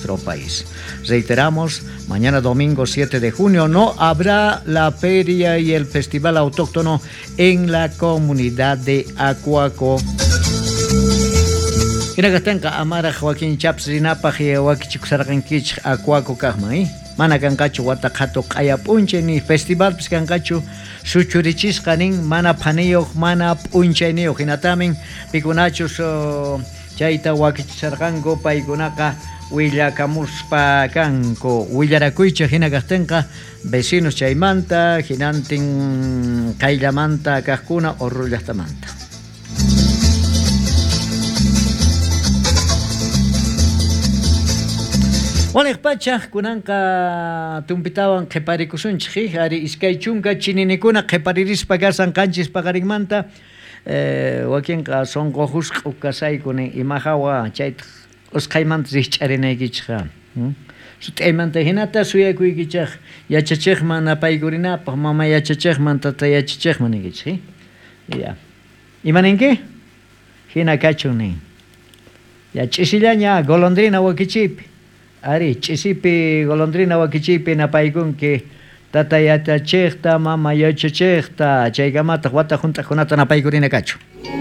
nuestro país. Reiteramos, mañana domingo 7 de junio no habrá la feria y el festival autóctono en la comunidad de Acuaco. Hina kajtenqa amaraj wakin chaps rinapaj wakichikusarqankichej Acuaco kajman, eh? Mana kanqachu wata qhatu q'aya p'unchay ni festivalpis kanqachu suchurichisqa nin mana phaniyuq mana p'unchayniyuq hinatamin pikunachus chayta wakichisarqanku paykunaqa willakamuspa kanku willarakuychej hina kajtinqa vecinos chaymanta hinantin qayllamanta kajkuna Oruro llajtamanta. Waliq pacha kunanqa tumpitawan qhiparikusunchej, ari 20 chininikuna qhiparirispa kasan qanchis paqarinmanta, wakinqa sonqo jusk'u kasayku nin ima hawa chaytaq usqhaymanta rijch'arinaykichejqa. Sut'aymanta hinata suyakuykichej yachachejman napaykurinapaj, mama yachachejman, tata yachachejman niykichej. Ya. Ima ninki? Hina kachun nin. Ya ch'isillaña golondrina wakichiypi. Ari, ch'isipi golondrina wakichiypi napaykunki tata yachachejta, mama yachachejta, chaykamataq wata junt'aqkunata napaykurina kachu.